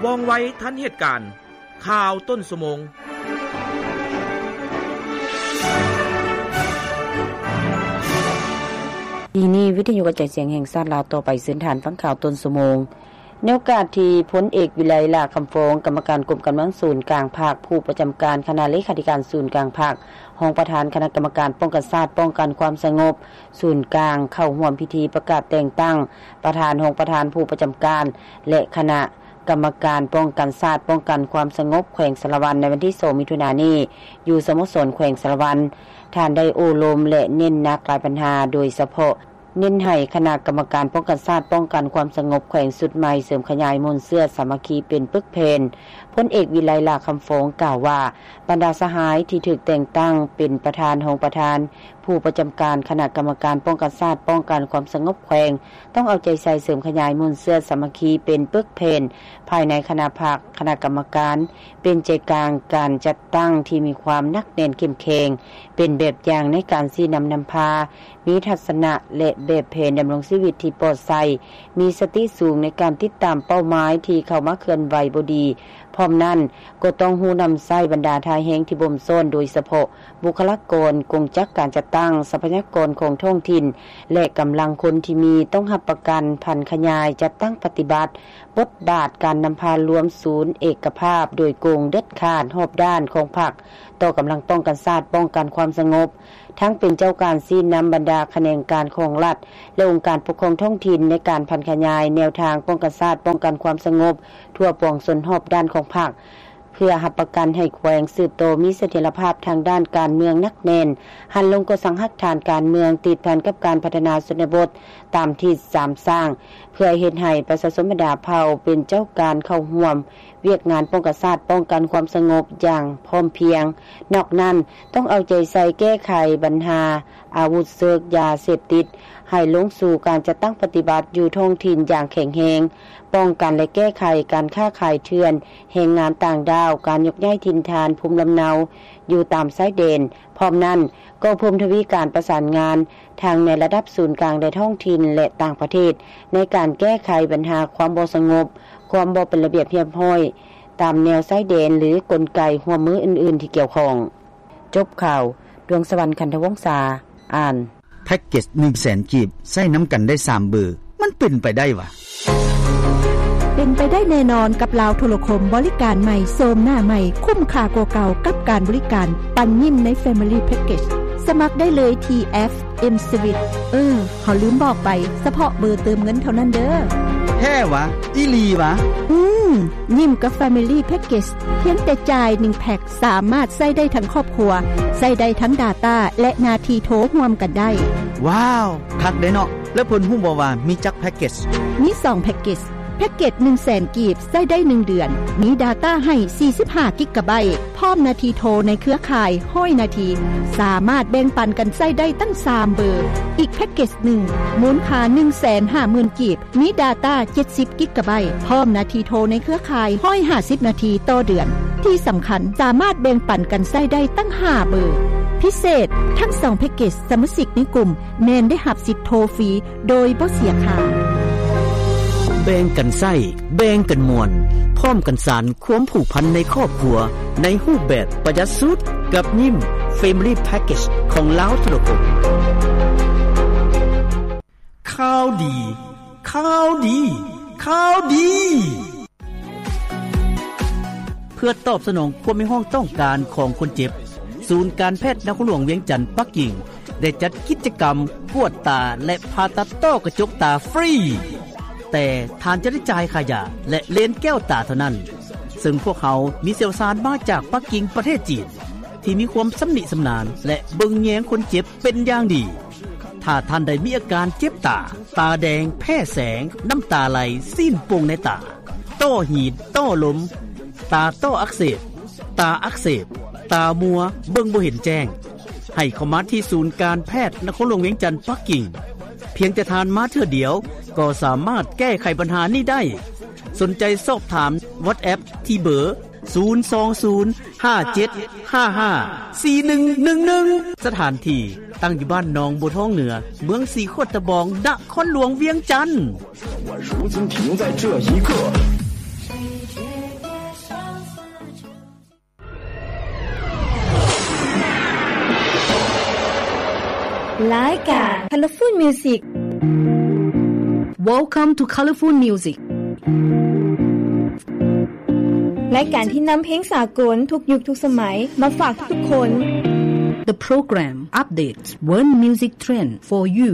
ວ່ອງໄວທັນເຫດການ. ຂ່າວຕົ້ນຊົ່ວໂມງ. ທີ່ນີ້ວິທະຍຸກະຈາຍສຽງແຫ່ງຊາດລາວ ຕໍ່ໄປເຊີນທ່ານຟັງຂ່າວຕົ້ນຊົ່ວໂມງ. ໃນໂອກາດທີ່ພົນເອກ ວິໄລ ຫຼ້າຄຳຟອງ ກຳມະການກົມກຳລັງສູນກາງພັກ, ຜູ້ປະຈຳການຄະນະເລຂາທິການສູນກາງພັກ, ຮອງປະທານຄະນະກຳມະການປ້ອງກັນຊາດ ປ້ອງກັນຄວາມສະຫງົບສູນກາງ ເຂົ້າຮ່ວມພິທີປະກາດແຕ່ງຕັ້ງປະທານ, ຮອງປະທານ, ຜູ້ປະຈຳການ ແລະ ຄະນະ ກຳມະການປ້ອງກັນຊາດ ປ້ອງກັນຄວາມສະຫງົບແຂວງສາລະວັນ ໃນວັນທີສອງ ມິຖຸນານີ້ ຢູ່ສະໂມສອນແຂວງສາລະວັນ. ທ່ານໄດ້ໂອ້ລົມ ແລະ ເນັ້ນໜັກຫຼາຍບັນຫາ, ໂດຍສະເພາະເນັ້ນໃຫ້ຄະນະກຳມະການປ້ອງກັນຊາດ ປ້ອງກັນຄວາມສະຫງົບແຂວງຊຸດໃໝ່ ເສີມຂະຫຍາຍມູນເຊື້ອສາມັກຄີເປັນປຶກແຜ່ນ. ພົນເອກ ວິໄລ ຫຼ້າຄຳຟອງ ກ່າວວ່າ ບັນດາສະຫາຍທີ່ຖືກແຕ່ງຕັ້ງເປັນປະທານ, ຮອງປະທານ, ຜູ້ປະຈຳການຄະນະກຳມະການປ້ອງກັນຊາດ ປ້ອງກັນຄວາມສະຫງົບແຂວງ ຕ້ອງເອົາໃຈໃສ່ເສີມຂະຫຍາຍມູນເຊື້ອສາມັກຄີເປັນປຶກແຜ່ນພາຍໃນຄະນະພັກ, ຄະນະກຳມະການ ເປັນໃຈກາງການຈັດຕັ້ງທີ່ມີຄວາມໜັກແໜ້ນເຂັ້ມແຂງ, ເປັນແບບຢ່າງໃນການຊີ້ນຳນຳພາ, ມີທັດສະນະ ແລະ ແບບແຜນດຳລົງຊີວິດທີ່ປອດໃສ, ມີສະຕິສູງໃນການຕິດຕາມເປົ້າໝາຍທີ່ເຂົ້າມາເຄື່ອນໄຫວບໍ່ດີ. ພ້ອມນັ້ນ, ກໍຕ້ອງຮູ້ນຳໃຊ້ບັນດາທ່າແຮງທີ່ບົ່ມຊ້ອນ, ໂດຍສະເພາະ ບຸກຄະລາກອນ, ກົງຈັກການຈັດຕັ້ງ, ຊັບພະຍາກອນຂອງທ້ອງຖິ່ນ ແລະ ກຳລັງຄົນທີ່ມີ, ຕ້ອງຮັບປະກັນຜັນຂະຫຍາຍ, ຈັດຕັ້ງປະຕິບັດບົດບາດການນຳພາລວມສູນເອກະພາບໂດຍກົງ, ເດັດຂາດ, ຮອບດ້ານຂອງພັກຕໍ່ກຳລັງປ້ອງກັນຊາດ, ປ້ອງກັນຄວາມສະຫງົບ, ທັງເປັນເຈົ້າການຊີ້ນຳບັນດາຂະແໜງການຂອງລັດ ແລະ ອົງການປົກຄອງທ້ອງຖິ່ນໃນການຜັນຂະຫຍາຍແນວທາງປ້ອງກັນຊາດ, ປ້ອງກັນຄວາມສະຫງົບທົ່ວປວງຊົນຮອບດ້ານຂອງພັກ. ເພື່ອຮັບປະກັນໃຫ້ແຂວງສືບຕໍ່ມີສະຖຽນລະພາບທາງດ້ານການເມືອງໜັກແໜ້ນ, ຫັນລົງກໍ່ສ້າງຮາກຖານການເມືອງຕິດພັນກັບການພັດທະນາຊົນນະບົດຕາມທິດສາມສ້າງ, ເພື່ອເຮັດໃຫ້ປະຊາຊົນບັນດາເຜົ່າເປັນເຈົ້າການເຂົ້າຮ່ວມວຽກງານປ້ອງກັນຊາດ, ປ້ອງກັນຄວາມສະຫງົບຢ່າງພ້ອມພຽງ. ນອກນັ້ນ, ຕ້ອງເອົາໃຈໃສ່ແກ້ໄຂບັນຫາອາວຸດເສິກ, ຢາເສບຕິດ, ໃຫ້ລົງສູ່ການຈັດຕັ້ງປະຕິບັດຢູ່ທ້ອງຖິ່ນຢ່າງແຂງແຮງ, ປ້ອງກັນ ແລະ ແກ້ໄຂການຄ້າຂາຍເຖື່ອນ, ແຮງງານຕ່າງດ້າວ, ການຍົກຍ້າຍຖິ່ນຖານພູມລຳເນົາຢູ່ຕາມຊາຍແດນ. ພ້ອມນັ້ນ, ກໍເພີ່ມທະວີການປະສານງານທັງໃນລະດັບສູນກາງ ແລະ ທ້ອງຖິ່ນ ແລະ ຕ່າງປະເທດ ໃນການແກ້ໄຂບັນຫາຄວາມບໍ່ສະຫງົບ, ຄວາມບໍ່ເປັນລະບຽບຮຽບຮ້ອຍຕາມແນວຊາຍແດນ ຫຼື ກົນໄກຮ່ວມມືອື່ນໆທີ່ກ່ຽວຂ້ອງ. ຈົບຂ່າວ. ດວງສະຫວັນ ຄັນທະວົງສາ ອ່ານ. ແພັກເກັດໜຶ່ງແສນກີບ ໃຊ້ນຳກັນໄດ້ສາມເບີ ມັນເປັນໄປໄດ້ຫວາ? ເປັນໄປໄດ້ແນ່ນອນກັບລາວໂທລະຄົມ ບໍລິການໃໝ່ ໂສມໜ້າໃໝ່ ຄຸ້ມຄ່າກວ່າເກົ່າກັບການບໍລິການ ປັນຍິ້ມໃນ Family Package. ສະໝັກໄດ້ເລີຍທີ່ແອັບ M-Swiss. ເອີ ເຮົາລືມບອກໄປ, ສະເພາະເບີເຕີມເງິນເທົ່ານັ້ນເດີ້. ແທ້ຫວາ? ອີ່ຫຼີຫວາ? ອືມ, ຍິ້ມກັບ Family Package ພຽງແຕ່ຈ່າຍໜຶ່ງແພັກ ສາມາດໃຊ້ໄດ້ທັງຄອບຄົວ, ໃຊ້ໄດ້ທັງ Data ແລະ ໜ້າທີ່ໂທຮ່ວມກັນໄດ້. ວ້າວ, ຄັກເດ້ເນາະ. ແລ້ວເພິ່ນຮູ້ບໍ່ວ່າມີຈັກແພັກເກັດ? ມີສອງແພັກເກັດ. ແພັກເກັດໜຶ່ງແສນກີບ ໃຊ້ໄດ້ໜຶ່ງເດືອນ, ມີ Data ໃຫ້ສີ່ສິບຫ້າກິກກະໄບ, ພ້ອມໜ້າທີ່ໂທໃນເຄືອຂ່າຍຮ້ອຍນາທີ, ສາມາດແບ່ງປັນກັນໃຊ້ໄດ້ຕັ້ງສາມເບີ. ອີກແພັກເກັດໜຶ່ງ ມູນຄ່າໜຶ່ງແສນຫ້າໝື່ນກີບ, ມີ Data ເຈັດສິບກິກກະໄບ, ພ້ອມໜ້າທີ່ໂທໃນເຄືອຂ່າຍຮ້ອຍຫ້າສິບນາທີຕໍ່ເດືອນ. ທີ່ສຳຄັນ, ສາມາດແບ່ງປັນກັນໃຊ້ໄດ້ຕັ້ງຫ້າເບີ. ພິເສດ, ທັງສອງແພັກເກັດ ສະມາຊິກໃນກຸ່ມແມ່ນໄດ້ຮັບສິດໂທຟຣີໂດຍບໍ່ເສຍຄ່າ. ແບ່ງກັນໃຊ້, ແບ່ງກັນມ່ວນ, ພ້ອມກັນສານຄວາມຜູກພັນໃນຄອບຄົວ ໃນຮູບແບບປະຢັດສຸດ ກັບຍິ້ມ Family Package ຂອງລາວໂທລະຄົມ. ຂ່າວດີ, ຂ່າວດີ, ຂ່າວດີ! ເພື່ອຕອບສະໜອງຄວາມຮຽກຮ້ອງຕ້ອງການຂອງຄົນເຈັບ, ສູນການແພດນະຄອນຫຼວງວຽງຈັນ ປັກກິ່ງ ໄດ້ຈັດກິດຈະກຳກວດຕາ ແລະ ຜ່າຕັດຕ້ອກະຈົກຕາຟຣີ, ແຕ່ທ່ານຈະໄດ້ຈ່າຍຄ່າຢາ ແລະ ເລນແກ້ວຕາເທົ່ານັ້ນ, ເຊິ່ງພວກເຮົາມີຊ່ຽວຊານມາຈາກປັກກິ່ງ ປະເທດຈີນ ທີ່ມີຄວາມຊຳນິຊຳນານ ແລະ ເບິ່ງແຍງຄົນເຈັບເປັນຢ່າງດີ. ຖ້າທ່ານໃດມີອາການເຈັບຕາ, ຕາແດງ, ແພ້ແສງ, ນ້ຳຕາໄຫຼ, ຊີ້ນໂປ່ງໃນຕາ, ຕ້ອຫີນ, ຕ້ອລົມ, ຕາ, ຕ້ອອັກເສບ, ຕາອັກເສບ, ຕາມົວ, ເບິ່ງບໍ່ເຫັນແຈ້ງ, ໃຫ້ເຂົ້າມາທີ່ສູນການແພດນະຄອນຫຼວງວຽງຈັນ ປັກກິ່ງ. ພຽງແຕ່ທ່ານມາເທື່ອດຽວ ກໍສາມາດແກ້ໄຂບັນຫານີ້ໄດ້. ສົນໃຈສອບຖາມ WhatsApp ທີ່ເບີ ສູນສອງສູນ ຫ້າເຈັດຫ້າຫ້າ ສີ່ໜຶ່ງໜຶ່ງໜຶ່ງ. ສະຖານທີ່ຕັ້ງຢູ່ບ້ານໜອງບົວທອງເໜືອ, ເມືອງສີຂວດຕະບອງ, ນະຄອນຫຼວງວຽງຈັນ. 我如今停在这一刻。ລາຍການ Colorful Music. Welcome to Colorful Music. ລາຍການທີ່ນຳເພງສາກົນທຸກຍຸກທຸກສະໄໝມາຝາກທຸກໆຄົນ. The program updates world music trend for you.